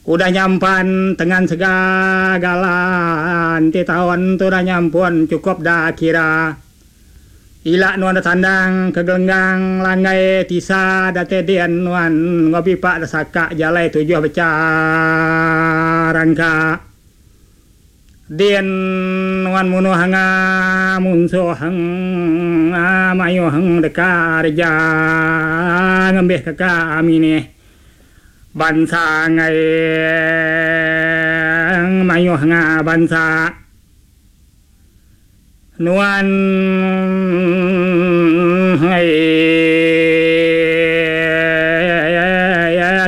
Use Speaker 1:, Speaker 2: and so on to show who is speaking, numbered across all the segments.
Speaker 1: Udah nyampan tengan segala enti taun tu udah nyampun chukup da kira. Ila nuan da tandang ke gelenggang langgai tisa datai din nuan enggau bipa da saka jalai tujuh becharangka. Din nuan munuh anga munsuh anga mayuh deka reja ngembih ke ka minih bansa enggai mayuh anga bansa nuan enggai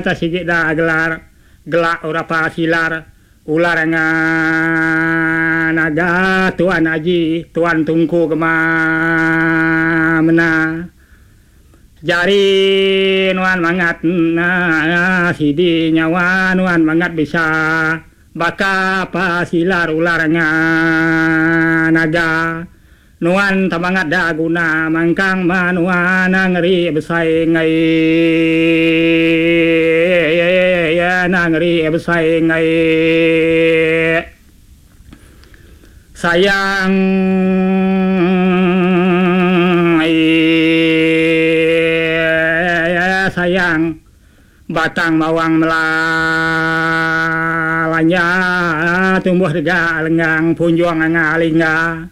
Speaker 1: atas sigi da gelar gela urapa silar. Ular enga naga tuan aji tuan tungku gema mena jari nuan mangat sidi nyawa nuan mangat bisa baka pa silar ular enga naga Nuan temangat da guna mangkang menua nengeri besai enggai nengeri besai enggai sayang sayang batang bawang melalanja tumbuh dega lenggang punjung anga lingga.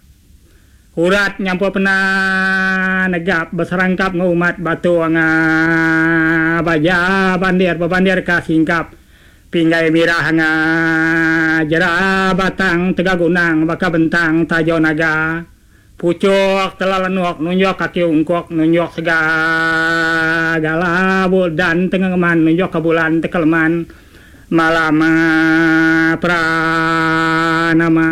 Speaker 1: Urat nyampur pena negap beserangkap enggau umat batu anga baja bandir bebandir ka singkap pinggai mirah anga jera batang tega gunang baka bentang tajau naga puchok tela lenok nunjok kaki ungkok nunjok segala dan tengengeman nunjok ka bulan tekeleman malam pranama.